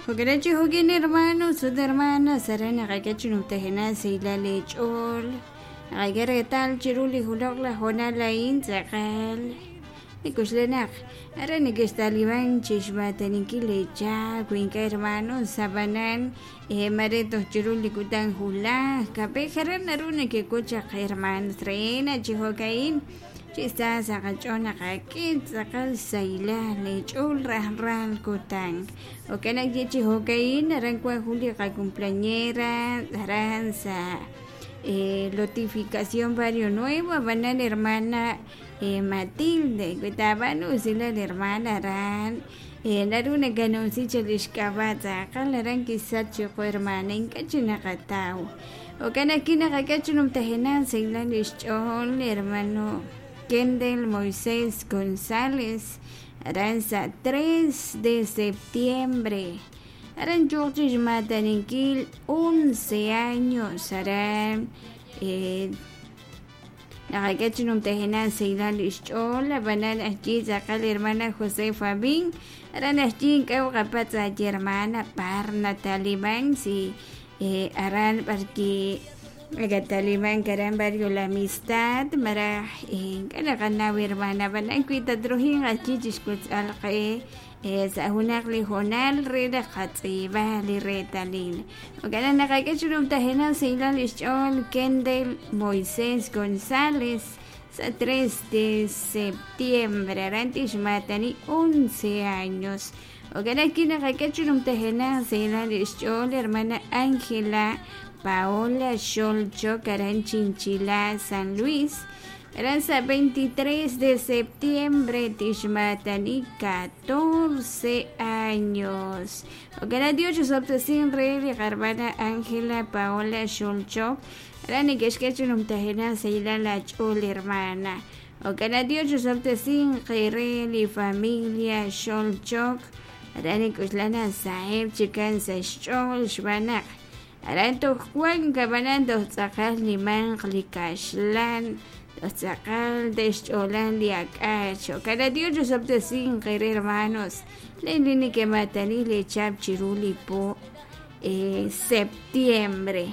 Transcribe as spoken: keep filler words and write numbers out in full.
Jo'kan chi jo'kin hermanos ut hermanas aran naqak'e chi numtajenaq sahilal eech'ool naqak'e reetal chiru li juloq laj hoonal a'in tz'aqal nikuxlenaq aran nekextaliban chixmataninkil leechaab' wi ink'a' hermanos ab'anan mare toj chiru li kutan julaj kab'ej aran naru nekek'ut chaq hermanos reena chi jo'ka'in chi sa sa' qach'ool naqak'e tz'aqal sahilal eech'ool rajlal kutan jo'kan naq chi jo'ka'in aran wan jun li qacumpleañera aran sa' Lotificación Barrio Nuevo ab'anan hermana Matilde wi taab'anu usilal hermana aran naru nakanumsi chaq li xk'ab'a' tz'aqal aran kisach chiqu hermana ink'a' chik naqataw jo'kan naq naqak'e chi numtajenaq sahilal xch'ool hermano Kendel Moisés González aran sa' tres de septiembre aran yuuq chi xmataninkil once años aran naqak'e chi numtajenaq sahilal xch'ool ab'anan ajyi tz'aqal hermana Josefa Bin aran ajyi ink'a' qapatz' ayi hermana par nataliman si aran b'arki Talibán aran barrio La Amistad maraj ink'a' naqanaw hermana ab'anan wi tatrujiq ajyi chixkutz'al qe sa' junaq li hoonal re naq qatz'iib'aj li reetalil jo'kan naq naqak'e chi numtajenaq sahilal xch'ool Kendel Moisés González sa' tres de septiembre aran tixmatani once años jo'kan naq naqak'e chi numtajenaq sahilal xch'ool hermana Ángela Paola Xolchok aran Chinchila San Luis aran sa' veintitrés de septiembre tixmatani catorce años jo'kan Dios chixob'tesin re li qarmana Ángela Paola Xolchok aran nekexk'e chi numtajenaq sahilal ach'ool hermana jo'kan Dios chixob'tesin qe re li familia Xolchok aran nik'uxlana saheb' chikan sa' xch'ool xb'aan naq aran toj wan ab'anan toj tz'aqal nimanq li kaxlan toj tz'aqal te'xch'oolan li ak'ach jo'kan Dios chixob'tesin qe re hermanos len li neke'matani leechab' chiru li po septiembre.